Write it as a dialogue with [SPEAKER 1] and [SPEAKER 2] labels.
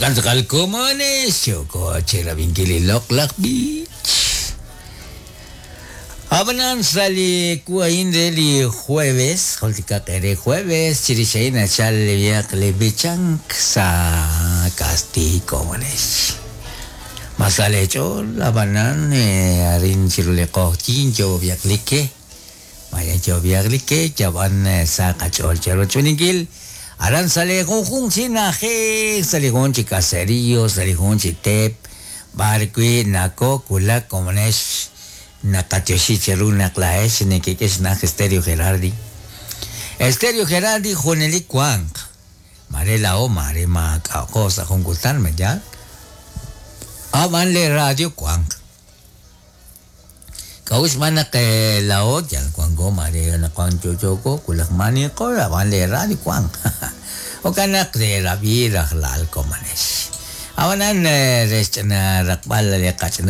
[SPEAKER 1] Jo'kan tz'aqal komonex yooko chirab'inkil li loq'laj b'ich. Ab'anan sa' li wu a'in re li jueves, jultikaq eere jueves, chirix a'in nachal li li b'ichank sa' kastiiy komonex. Ma sa leech'ool ab'anan arin chiru li q'oqyink yoob'yaq li ke. Maya yoob'yaq li ke yab'an sa qach'ool cherochb'eeninkil aran sa' li junjunq chi na'ajej, sa' li jun chi caserío, sa' li jun chi teep, b'ar wi' nakowulak komonex naqatyoxi cheru naq laa'ex nekek'e xna'aj Stereo Gerardi. Stereo Gerardi junelik wanq. Mare laa'o mare maak'a'qo sa' jun kutan ma yaal. Ab'an le radio wanq. K'a'ut xb'aan naq laa'o yal wanko mare anaqwan yo'yooko wulaj maaniqo ab'an le radio wanq. Jo'kan naq reerab'i rajlal komonex. Ab'anan re xch'ina raqb'al li qach'ina.